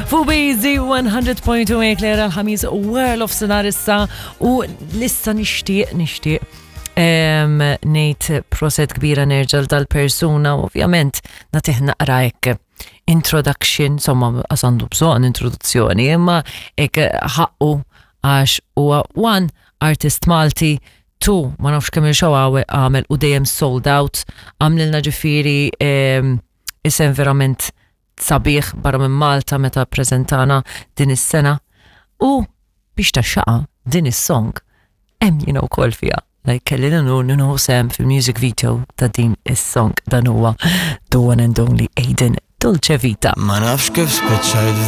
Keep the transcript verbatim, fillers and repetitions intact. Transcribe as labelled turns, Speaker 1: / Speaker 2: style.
Speaker 1: Fuq Easy one hundred point two Eclair għal-ħamis wara nofsinhar issa u issa nixtieq nixtieq em, ngħid proset kbira nerġa' dal-persuna, ovvjament nagħtih naqra hekk introduction, insomma, għandu bżonn introduzzjoni, imma hekk ħaqqu għax huwa one artist Malti, two ma nafx kemm il-show għamel u dejjem sold out, għamlilna ġifieri em, isem verament sabiħ barra minn Malta meta prezentana din is-sena u biex taxxaqa din is-song hemm jiena wkoll fiha. Like kelli l-unur nieħu sehem fil-music video ta' din is-song. Dan huwa the one and only Aiden, Dolce Vita.
Speaker 2: Ma nafx kif spiċċajt.